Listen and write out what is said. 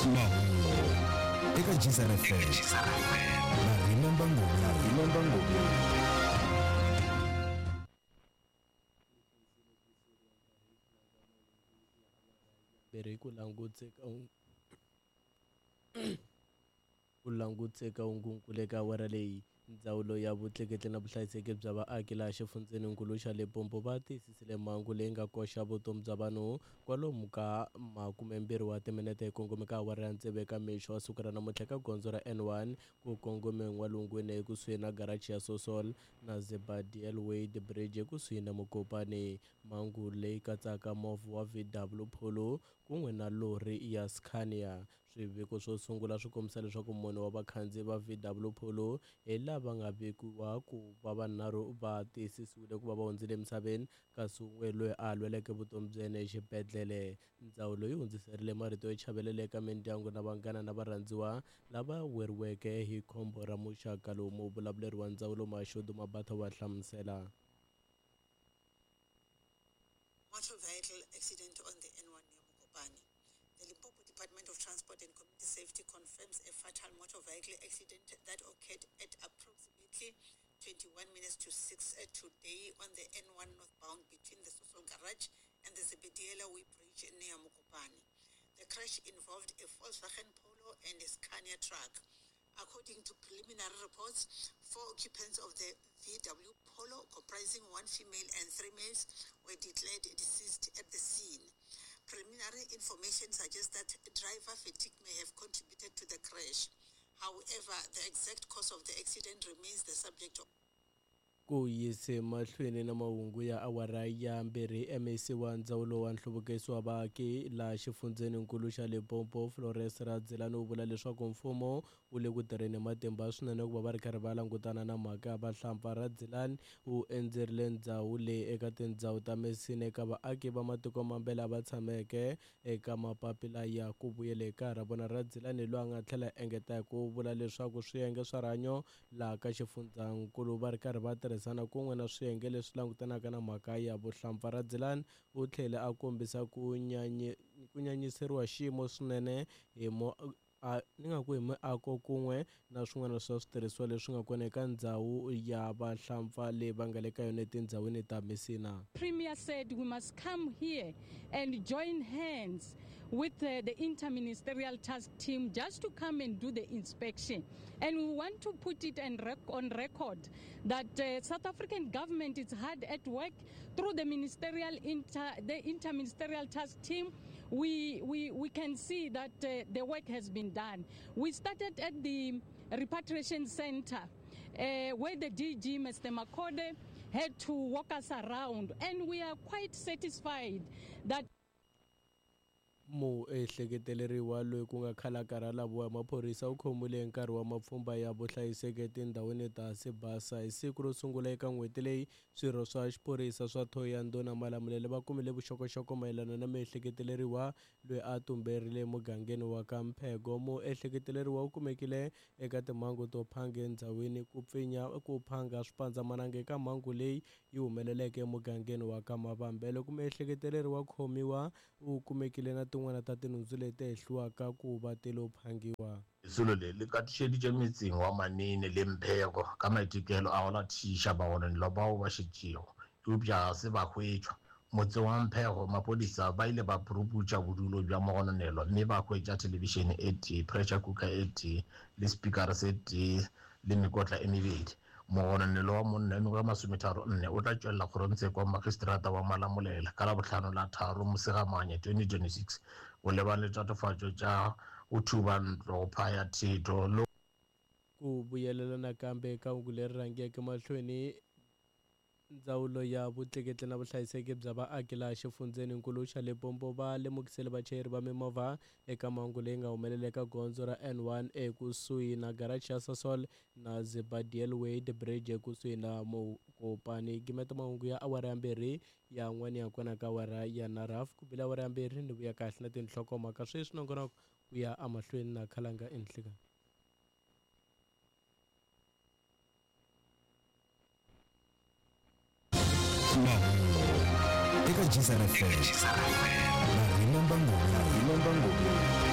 Mahungu eka Geyser FM na Remember Ngobeni. Mbirhi ku languteka hungunkulu eka awara leyi. Ndzawulo ya Vutleketli na Vuhlayiseki bya Vaaki laha xifundzheninkulu xa Limpopo va tiyisisile mhangu leyi nga koxa vutomi bya vanhu kwalomu ka 20 wa timinete hi kongome ka awara ya tsevu eka mixo wa siku ra namuntlha eka gondzo ra N1 ku kongome n'walungwini ekusuhi na garachi ya Sosol na Zebadiel Wade Bridge ekusuhi na Mokopane. Mhangu leyi katsaka movha wa VW Polo kun'we na lori ya Scania. Swiviko swo sungula swi kombisa leswaku mune wa vakhandziyi va VW Polo hi lava nga vekiwa ku va vanharhu va tiyisisiwile ku va va hundzile emisaveni, kasi wun'we loyi a lweleke vutomi bya yena exibedhlele. Ndzawulo yi hundziserile marito yo chavelela eka mindyangu na vanghana na varhandziwa lava weriweke hi khombo ra muxaka lowu. Muvulavuleri wa ndzawulo Mashudu Mabatha wa hlamusela. Motor vehicle accident on the N1 near Mokopane. The Limpopo Department of Transport and Community Safety confirms a fatal motor vehicle accident that occurred at approximately 21 minutes to 6 today on the N1 northbound between the Sosol Garage and the Zebediela Way Bridge near Mokopane. The crash involved a Volkswagen Polo and a Scania truck. According to preliminary reports, 4 occupants of the VW Polo, comprising 1 female and 3 males, were declared deceased at the scene. Preliminary information suggests that driver fatigue may have contributed to the crash. However, the exact cause of the accident remains the subject of ku yise mahlweni na mahungu ya awara ya 2. MEC wa ndzawulo wa nhluvukiso wa vaaki laha xifundzheninkulu xa Limpopo Flores Radzilani u vula leswaku mfumo wu le ku tirheni matimba swinene ku va va ri karhi va langutana na mhaka ya vahlampfa. Radzilani u endzerile ndzhawu leyi eka tindhawu ta Messina eka vaaki va matiko mambe lava tshameke eka mapapila ya ku vuyela eka ra vona. Radzilani loyi a nga tlhela engeta hi ku vula leswaku swiyenge swa rihanyo laha ka xifundzankulu va ri karhi va tirhisana kun'we na swiyenge leswi langutanaka na mhaka ya vuhlampfa. Radzilani u tlhele a kombisa ku nyanyiseriwa xiyimo swinene hi ni nga ku hi miako kun'we na swin'wana swa switirhisiwa leswi nga kona eka ndzhawu ya vahlampfa leyi va nga le ka yona etindhawini ta Messina. Premier said we must come here and join hands with the interministerial task team just to come and do the inspection. And we want to put it on record that South African government is hard at work through the ministerial the interministerial task team. We can see that the work has been done. We started at the repatriation center where the DG, Mr. Makode, had to walk us around, and we are quite satisfied that Muehleketeleriwa loyi ku nga khalaka ra laviwa hi maphorisa u khomiwile hi nkarhi wa mapfhumba ya vuhlayiseki etindhawini ta Sibasa. Hi siku ro sungula eka n'hweti leyi, swirho swa xiphorisa swa Thohoyandou na Malamulele va kumile vuxokoxoko mayelana na muehleketeleriwa loyi a tumberile emugangeni wa ka Mphego. Muehleketeleriwa u kumekile eka timhangu to phanga endhawini ku pfinya ku phanga swipandzamananga eka mhangu leyi yi humeleleke emugangeni wa ka Mavambe. Loko muehleketeleriwa khomiwa u kumekile na tin'wana ta tinhundzu leti hehliwaka ku va ti lo phangiwa. Lesolo le le katišeditše metseng wa Manene le Mphego ka maitekelo a go latišiša bagononelwa bao ba šetšego, eupša ga se ba hwetšwa. Motseng wa Mphego, maphodisa ba ile ba puruputša bodulo bja mogononelwa mme ba hwetša thelebišene e tee, pressure cooker e tee le spikara se tee le mekotla e mebedi. Mogononelwa wa monna wa mengwaga e 34 o tla tšwelela kgorongtsheko wa magistrata wa Malamulele ka Labohlano la 3 Mosegamanye 2026 go lebane le tatofatšo tša go thuba ntlo, go phaya thetho le Ku vuyelela nakambe eka hungu leri rhangeke mahlweni. Ndzawulo ya Vutleketli na Vuhlayiseki bya Vaaki laha xifundzheninkulu xa Limpopo va lemukisile vachayeri va mimovha eka mhangu leyi nga humelela eka gondzo ra N1 ekusuhi na garachi ya Sasol na Zebadiel Wade Bridge ekusuhi na Mokopane. Gimeta mahungu ya awara ya 2 ya n'wana ya kona ka awara ya 9 ku bile awara ya 2 ni vuya kahle na tinhlokomhaka sweswi nongonoko ku ya emahlweni na Khalanga Enhlekani. Mahungu eka Geyser FM na Remember Ngobeni.